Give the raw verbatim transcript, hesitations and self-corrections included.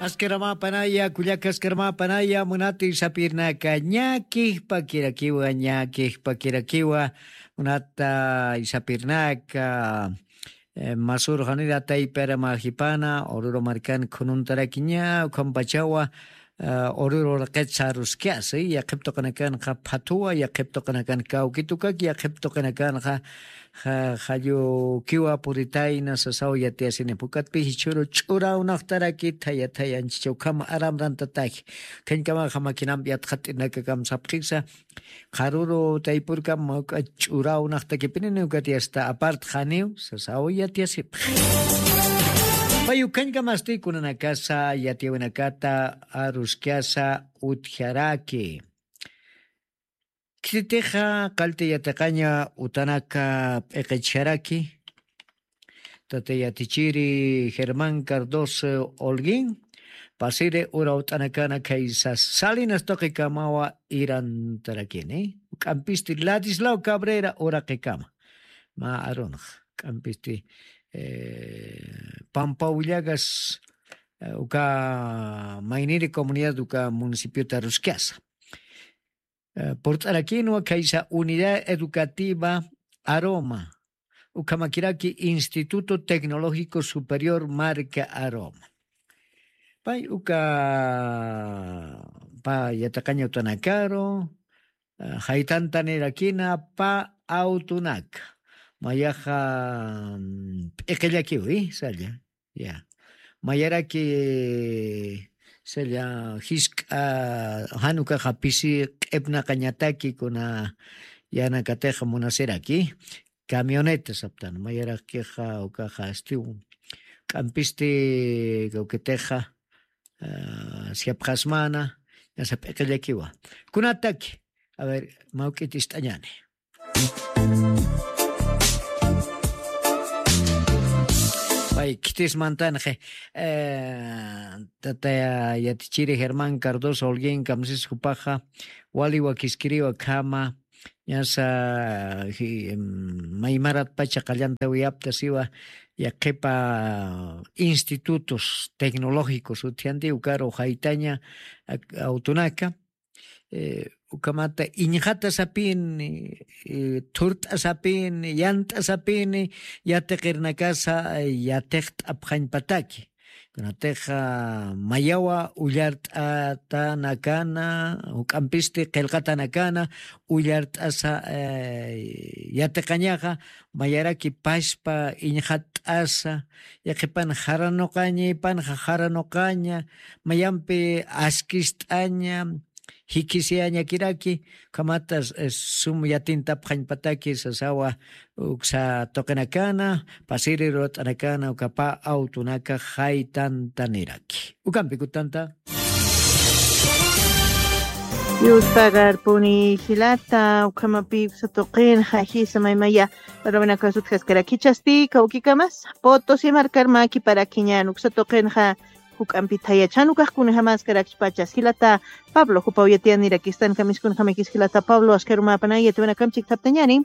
Askaramäpanaya, kullaka askaramäpanaya, munata isapirnaka, ñakijpakirakiwa, ñakijpakirakiwa, munata isapirnaka, eh, masur janira taypara majipana, Oruro markan khununtarakiña, ukhampachawa, eh, Oruro raqit saruskasa, yaqhip tuqinakanxa phathuwa, yaqhip tuqinakan kawkitukaki, yaqhip tuqinakanxa ja-, jallukiwa puritayna sasaw yatiyasini. Pukatpi jichhuru ch'urawnaqtaraki thaya thaya anchicha ukhama aramrantataki. Khañkamaxa makinampi yatxat'inakakam sapxisa. Qharuru taypurkam mawk'a ch'urawnaqtakipinini ukat yasta apart janiw sasaw yatiyasipxi. Pay ukhañkamasti kunanakasa yatiyawinakata aruskasa utjaraki. Khititixa qallti yatiqaña utanaka p'iqichjaraki, tata yatichiri Germán Cardoso Holguín, pasiri urawt'anakana khaysa Salinas tuqikamawa irantarakini, juk'ampisti Ladislao Cabrera uraqikama. Mä arunx, juk'ampisti, eh, Pampaw Llagas, eh, uka mayniri comunidad uka municipiota aruskasa. Eh, purt'arakinwa khaysa Unidad Educativa Aroma, ukhamakiraki Instituto Tecnológico Superior Marca Aroma. Pay uka pä yatiqaña utanakaru, eh, jaytantanirakina pä awtunaka. Mayaxa, mm, p'iqillakiwi, salla. Ya. Mayaraki, salla, jisk'a, jan ukaxa pisi q'ipnaqañataki kuna yanakatixa munasiraki, camioneta saptan, mayarakixa ukaxa astiw, juk'ampisti kawkitixa, ah, siapxasmana, ñasa p'iqillakiwa. Kunataki, a ver, mawk'it ist'añani. Pay, khitis mantanxi, eh, tata yatichiri Germán Cardoso Holguín kamsis jupaxa, wali wakiskiriwa khama, ñasa, ji-, em, maymarat pacha qallantawiyapta siwa, yaqhipa institutos tecnológicos utjanti ukaru jaytaña, ak-, awtunaka, eh, ukhamata iñxata sapini, eh, thurt'a sapini, yant'a sapini, yatiqirnakasa, eh, yatiqt'apxañpataki. Kunatixa mayawa ullart'atanakana, juk'ampisti qillqatanakana, ullart'asa, eh, yatiqañaxa, mayaraki paspa iñxatt'asa, yaqhipan jaranuqaña, ipanxa jaranuqaña, mayampi askist'aña, jikisiyañakiraki, ukhamata, eh, sum yatintapxañpataki sasawa uksa tuqinakana, pasiri ruwat'anakana, uka pä awtunaka jaytantaniraki. Ukampi kutanta. Yuspagarpuni jilata, ukhamapi uksa tuqinxa jisa maymaya, ruwinakasut jaskarakichasti, kawkikamas, Potosí markar mäkiparakiñän uksa tuqinxa, juk'ampi thayachan ukax kunjamäskarakchpacha jilata Pablo, jupaw yatiyanirakistankamis kunjamakis jilata Pablo, askarumäpanay yatiwinakamp chikthaptañäni.